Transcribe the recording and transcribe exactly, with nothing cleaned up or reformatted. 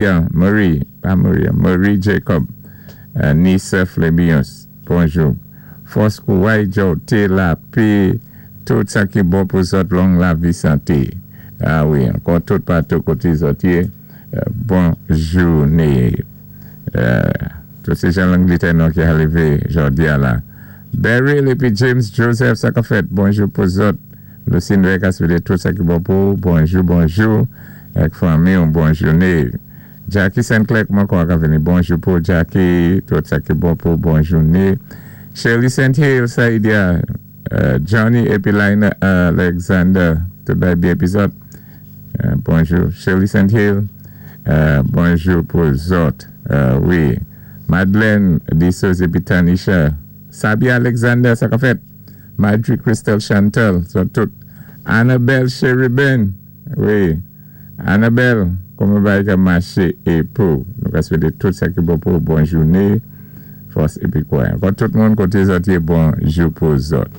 Marie, pa Maria, Marie Jacob, euh, Nissa Flébius, bonjou. Fòs kouway, Jote, lapè, tout sa ki bon pou zòt, long lavi, santé. Ah wi, ankò tout patou koté zòt yé, euh, bon jouné. Euh, tout sé jan Langlétè nou ki arivé jòdi a la. Beryl épi James Joseph, sa ka fèt, bonjou pou zòt. Lucine Vegas, tout sa ki bon pou, bonjou, bonjou. Ak fanmi, yon bon jouné. Jackie Saint-Clair, kouman kon ka vini? Bonjou pou Jackie, tout sa ki bon pou, bon jouné. Shirley Saint Hill, Saïdia, euh, Johnny épi Lina Alexander, tout bay byen épi zòt. Euh, bonjou. Shirley Saint Hill, euh, bonjou pou zòt. Euh, wi. Madeleine Dissos épi Tanisha. Sabia Alexander, sa ka fèt. Marjorie Crystal Chantal, zòt tout. Annabelle Sheriben, wi. Annabelle, kouman bagay ka maché é pou. Nou ka swété tout sa ki bon pou bon jouné. Fòs épi kouway. Ankò tout moun koté zòt yé bonjou pou zòt.